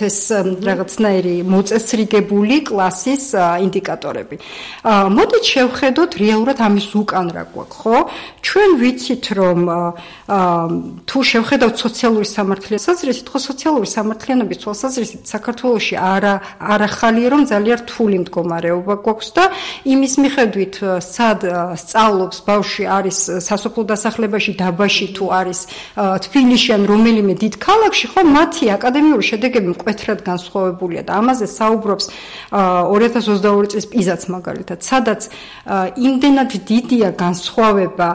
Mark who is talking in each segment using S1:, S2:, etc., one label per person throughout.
S1: ეს რაღაცნაირი მოწესრიგებული კლასის ინდიკატორები. მოდით შევხედოთ რეალურად ამის უკან რა გვაქვს, ხო? ჩვენ ვიცით, რომ თუ შევხედავთ სოციალური სამართლიანობის საზრისით, ხო სოციალური სამართლიანობის თვალსაზრისით საქართველოში არ ახალია, რომ ძალიან რთული მდგომარეობა გვაქვს და იმის მიხედვით, სად სწავლობს ბავშვი არის სასოფლო დასახლებაში, დაბაში თუ არის თბილისში ან რომელიმე დიდ ქალაქში, ხო მათი აკადემიური შედეგები მკვეთრად განსხვავებულია და ამაზე საუბრობს 2022 წლის პიზაც მაგალითად, სადაც იმდენად დიდია განსხვავება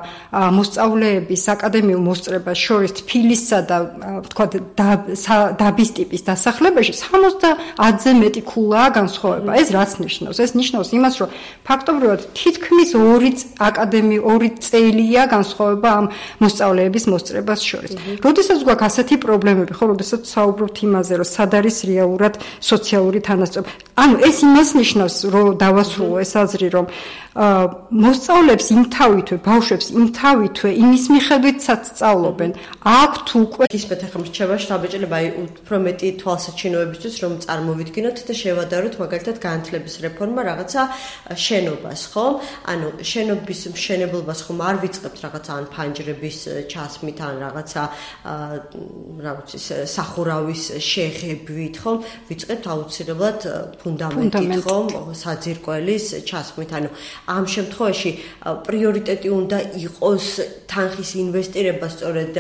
S1: მოსწავლეების აკადემიურ მოსწრებას შორის თბილისსა და ვთქვათ დაბის ტიპის დასახლებაში 70-ზე მეტი ქულაა განსხვავება. ეს რაც ნიშნავს? ეს ნიშნავს იმას, რომ ფაქტობრივად თითქმის 2 წელია განსხვავება ამ მოსწავლეების მოსწრებას შორის. როდესაც გვაქვს ასეთი პრობლემები, ხო, როდესაც საუბრობთ იმაზე, რომ სად არის რეალურად სოციალური თანასწორობა. ანუ ეს იმას ნიშნავს, რომ დავასრულო ეს აზრი, რომ მოსწავლეებს იმთავითვე, ბავშვებს იმთავითვე იმის მიხედვით სწავლობენ. აქვთ უკვე
S2: ისმეთ ახლა მრჩება შტაბეჭდილება უფრო მეტი თვალსაჩინოებისთვის, რომ წარმოვიდგინოთ და შევადაროთ მაგალითად განათლების რეფორმა რაღაცა შენობას, ხო? ანუ შენობის მშენებლობას ხომ არ ვიწყებთ რაღაცა ან ფანჯრების ჩასმით ან რაღაცა რა ვიცი სახურავის შეღებით, ხო? ვიწყებთ აუცილებლად ფუნდამენტით, ხო? საძირკველის ჩასმით, ანუ ამ შემთხვევაში პრიორიტეტი უნდა იყოს თანხის ინვესტირება სწორედ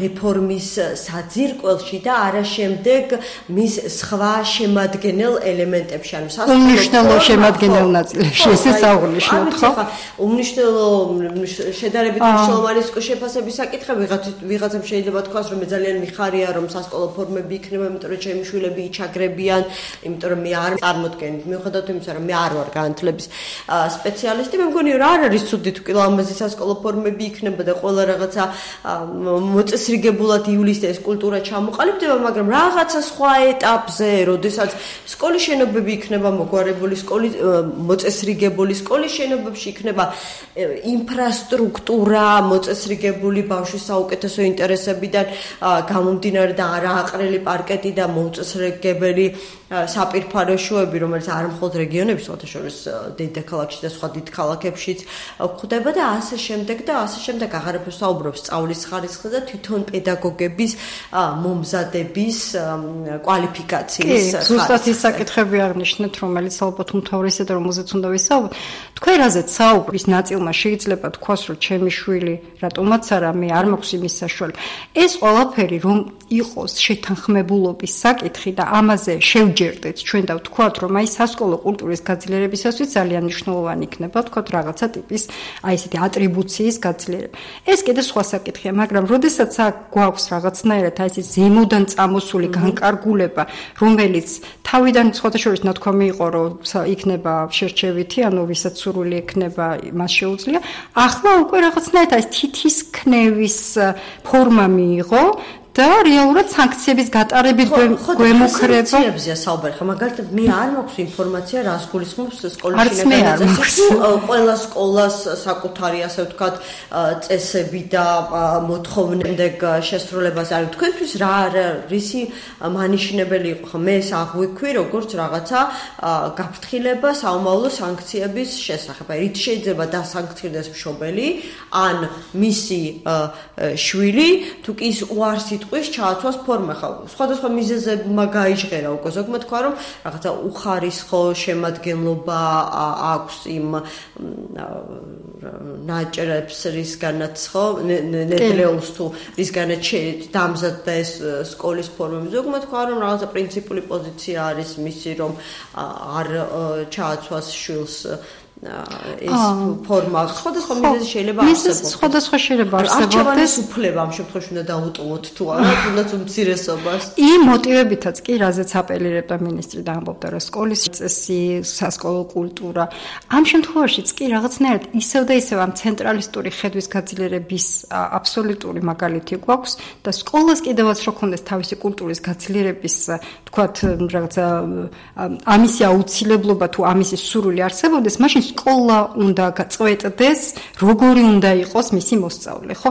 S2: რეფორმის საძირკველში და არა შემდეგ მის სხვა შემადგენელ ელემენტებში, ანუ
S1: უმნიშვნელო შემადგენელ ნაწილებში, ესეც აღნიშნოთ, ხო?
S2: უმნიშვნელო შედარებით მნიშვნელოვანი შეფასების საკითხი ვიღაცამ შეიძლება თქვას, რომ მე ძალიან მიხარია, რომ სასკოლო ფორმები იქნება, იმიტომ რომ ჩემი შვილები იჩაგრებიან, იმიტომ რომ მე არ წარმოდგენთ, მიუხედავად იმისა, რომ მე არ ვარ განათლების სპეციალისტი, მე მგონი რომ არ არის ცუდი თუ კი ლამაზი სასკოლო ფორმები იქნება და ყველა რაღაცა მოწესრიგებულად ივლისს ეს კულტურა ჩამოყალიბდება, მაგრამ რაღაცა სხვა ეტაპზე, როდესაც სკოლის შენობები იქნება მოგვარებული, მოწესრიგებული სკოლის შენობებში იქნება ინფრასტრუქტურა მოწესრიგებული ბავშვის საუკეთესო ინტერესებიდან გამომდინარე და არააყრელი პარკეტი და მოუწესრიგებელი საპირფარეშოები, რომელიც არ მხოლოდ რეგიონების, შორის დედაქალაქში და სხვა დიდ ქალაქებშიც გვხვდება და ასე შემდეგ და ასე შემდეგ. აღარაფერ საუბრობს სწავლის ხარისხზე და თვითონ პედაგოგების მომზადების კვალიფიკაციის.
S1: ზუსტად ის საკითხები აღნიშნეთ, რომელიც ალბათ უმთავრესად რომელზეც უნდა ვისაუბროთ. თქვენ რაზეც საუბრის ნაწილმა შეიძლება თქვას, რომ ჩემი შვილი რატომაც არა, მე არ მაქვს იმის საშუალება. ეს ყველაფერი რომ იყოს შეთანხმებულობის საკითხი და ამაზე შევჯერდეთ ჩვენ და ვთქვათ, რომ აი სასკოლო კულტურის გაძლიერებისათვის ძალიან მნიშვნელოვანი იქნება, ვთქვათ, რაღაცა ტიპის აი ესეთი ატრიბუციის გაძლიერება. ეს კიდე სხვა საკითხია, მაგრამ როდესაც გვაქვს რაღაცნაირად აი ეს ზემოდან წამოსული განკარგულება, რომელიც თავიდან სხვადასხვა ნათქვამი იყო, რომ იქნება შერჩევითი, ანუ ვისაც სურვილი ექნება, მას შეუძლია. ახლა უკვე რაღაცნაირად ეს თითის ქნევის ფორმა მიიღო და რეალურად სანქციების გატარებით გვემუქრება.
S2: სანქციებზეა საუბარი. ხა მაგალითად მე არ მაქვს ინფორმაცია, რას გულისხმობს სკოლის შინაგანაწესში. ყველა სკოლას საკუთარი, ასე ვთქვათ, წესები და მოთხოვნები შესრულებას არის. თქვენთვის რა რისი მანიშნებელი იყო? ხა მე ეს აღვიქვი, როგორც რაღაცა გაფრთხილება საომავლო სანქციების შესახებ. რით შეიძლება დასანქცირდეს მშობელი ან მისი შვილი, თუ კი ის უარს ტყვის ჩააცვას ფორმა ხა სხვადასხვა მიზეზებმა გაიჟღერა უკვე ზოგმა თქვა რომ რაღაცა უხარისხო შემადგენლობა აქვს იმ ნაჭრებს რისგანაც ხო ნედლეულს თუ რისგანაც დამზადდა ეს სკოლის ფორმები ზოგმა თქვა რომ რაღაცა პრინციპული პოზიცია არის მისი რომ არ ჩააცვას შვილს ეს ფორმა სხვადასხვა მიზეზი შეიძლება არსებობს.
S1: სხვადასხვა შეიძლება არსებობდეს.
S2: არჩევანის უფლება ამ შემთხვევაში უნდა დაუტოვოთ თუ არა, თუნდაც უმცირესობას.
S1: იმ მოტივებითაც კი, რაზეც აპელირებდა მინისტრი და ამბობდა, რომ სკოლის წესი, სასკოლო კულტურა, ამ შემთხვევაშიც კი რაღაცნაირად ისევ და ისევ ამ ცენტრალისტური ხედვის გაძლიერების აბსოლუტური მაგალითი გვაქვს და სკოლას კიდევაც რო ქონდეს თავისი კულტურის გაძლიერების, თქვათ, რაღაცა ამისი აუცილებლობა თუ ამისი სურვილი არსებობდეს, მაშინ სკოლა უნდა გაწყვეტდეს, როგორი უნდა იყოს მისი მოსწავლე, ხო?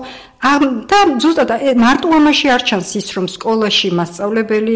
S1: და ზუსტად მარტო ამაში არ ჩანს ის, რომ სკოლაში მასწავლებელი